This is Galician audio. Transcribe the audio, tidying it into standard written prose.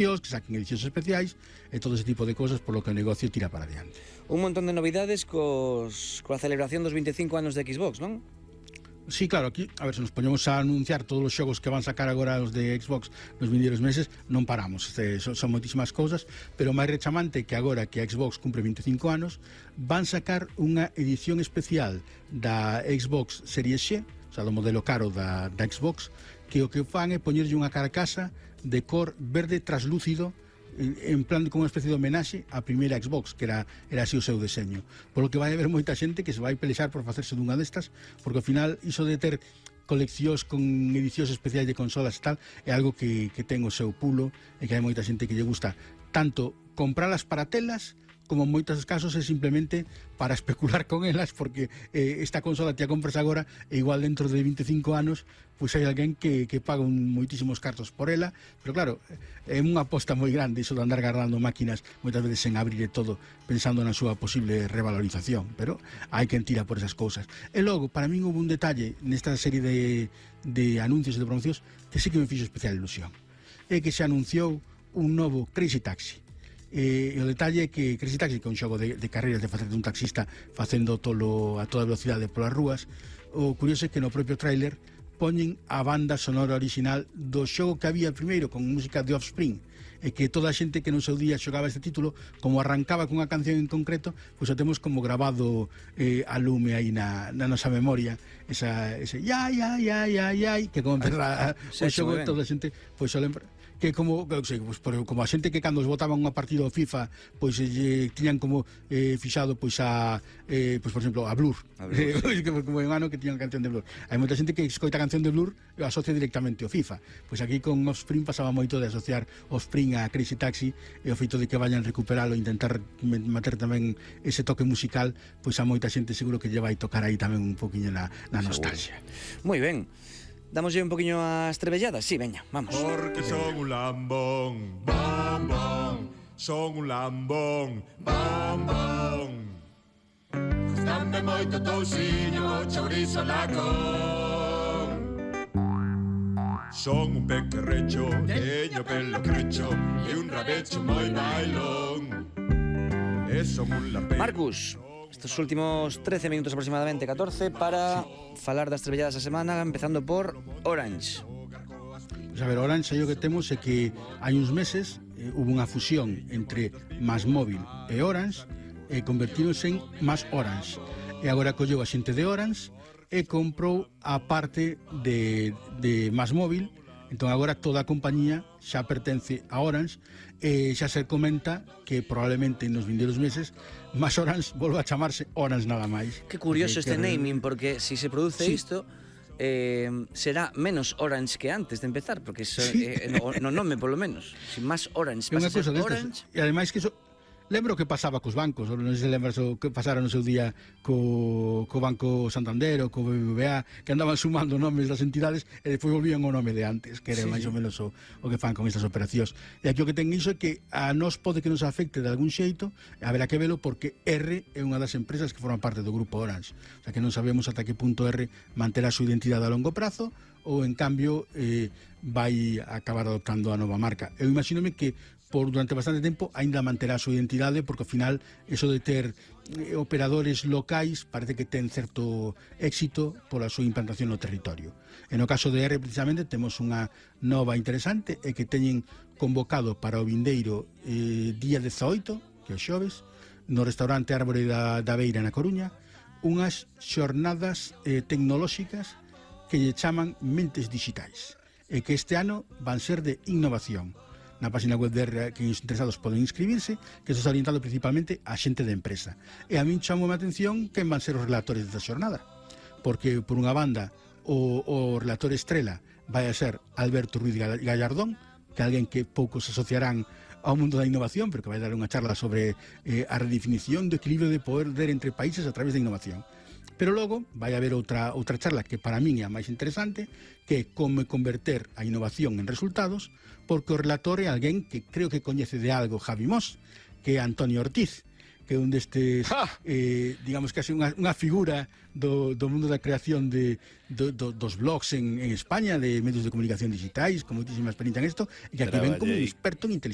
que saquen edicións especiais e todo ese tipo de cosas por lo que o negocio tira para adiante. Un montón de novidades coa celebración dos 25 anos de Xbox, non? Sí, claro, aquí, a ver, se nos poñemos a anunciar todos os xogos que van sacar agora os de Xbox nos vindeiros meses, non paramos, son moitísimas cousas, pero máis rechamante que agora que a Xbox cumpre 25 anos, van sacar unha edición especial da Xbox Series X, o sea, do modelo caro da Xbox, que o que fan é poñerlle unha carcasa de cor verde traslúcido en plan como unha especie de homenaxe á primeira Xbox, que era así o seu deseño. Por lo que vai haber moita xente que se vai pelexar por facerse dunha destas, porque ao final iso de ter coleccións con edicións especiais de consolas e tal é algo que ten o seu pulo e que hai moita xente que lle gusta tanto compralas para telas como en moitos casos é simplemente para especular con elas, porque esta consola te a compras agora e igual dentro de 25 anos pois hai alguén que paga moitísimos cartos por ela, pero claro, é unha aposta moi grande iso de andar guardando máquinas moitas veces sen abrir e todo, pensando na súa posible revalorización, pero hai quen tira por esas cousas. E logo, para min houve un detalle nesta serie de anuncios e de promocións que sí que me fixo especial ilusión, é que se anunciou un novo Crazy Taxi. E o detalle é que Crazy Taxi, que é un xogo de carreiras de facerte un taxista facendo a toda velocidade polas rúas, o curioso é que no propio tráiler poñen a banda sonora original do xogo que había primeiro con música de Offspring, e que toda a xente que no seu día xogaba este título, como arrancaba cunha canción en concreto, pois o temos como grabado a lume aí na nosa memoria, ese ya, que como empeza o xogo, toda a xente pois o lembra, que como, como a xente que cando os botaban unha partida ao FIFA pois tiñan como fixado pois pois por exemplo a Blur, como en ano que tiñan canción de Blur. Hai moita xente que escoita a canción de Blur e asocia directamente ao FIFA. Pois aquí con Offspring pasaba moito de asociar Offspring a Crazy Taxi, e o feito de que vayan recuperalo e intentar meter tamén ese toque musical, pois a moita xente seguro que lle vai tocar aí tamén un poquinho na nostalgia. Moi ben. Damoslle un poquinho as trebelladas? Sí, veña, vamos. Porque son un lambón, bom, bom. Son un lambón, bom, bom. Dame moito tousiño, chourizo lacón. Son un pequerrecho, teño pelo crecho e un rabecho moi bailón. E son un lampeiro. Marcus, estos últimos 13 minutos aproximadamente, 14, para falar das trebelladas da semana, empezando por Orange. Pues a ver, Orange, aí o que temos é que hai uns meses hubo unha fusión entre MásMóvil e Orange e convertíronse en Más Orange. E agora colleu a xente de Orange e comprou a parte de MásMóvil. Entón agora toda a compañía xa pertence a Orange e xa se comenta que probablemente nos vindeiros meses Más Orange volva a chamarse Orange nada máis. Que curioso este naming, porque si se produce isto será menos Orange que antes de empezar, porque eso, no nome polo menos, si Más Orange pasa a ser Orange. E ademais que eso lembro que pasaba cos bancos, non sei se lembras o que pasara no seu día co Banco Santander ou co BBVA, que andaban sumando nomes das entidades e despois volvían o nome de antes, que era máis ou menos o que fan con estas operacións. E aquí o que ten iso é que a nós pode que nos afecte de algún xeito, haberá que velo porque R é unha das empresas que forman parte do grupo Orange. O sea que non sabemos ata que punto R manterá a súa identidade a longo prazo ou en cambio vai acabar adoptando a nova marca. Eu imagínome que durante bastante tempo aínda manterá a súa identidade, porque ao final eso de ter operadores locais parece que ten certo éxito pola súa implantación no territorio. E no caso de R precisamente temos unha nova interesante e que teñen convocado para o vindeiro día 18, que é o xoves, no restaurante Árbore da Beira na Coruña, unhas xornadas tecnolóxicas que lle chaman Mentes Digitais, e que este ano van ser de innovación. Na página web de R, que os interesados poden inscribirse, que isto está orientado principalmente a xente de empresa. E a min chamou a atención quen van ser os relatores desta xornada, porque por unha banda o relator estrela vai a ser Alberto Ruiz Gallardón, que é alguén que poucos asociarán ao mundo da innovación, pero que vai dar unha charla sobre a redefinición do equilibrio de poder entre países a través da innovación. Pero logo vai haber outra charla que para min é a máis interesante, que é como converter a innovación en resultados, porque o relator é alguén que creo que coñece de algo Javi Mos, que é Antonio Ortiz, que é un destes, digamos que é unha figura do mundo da creación dos blogs en España, de medios de comunicación digitais, con moitísima experiencia en isto, e que aquí ven como un experto en inteligencia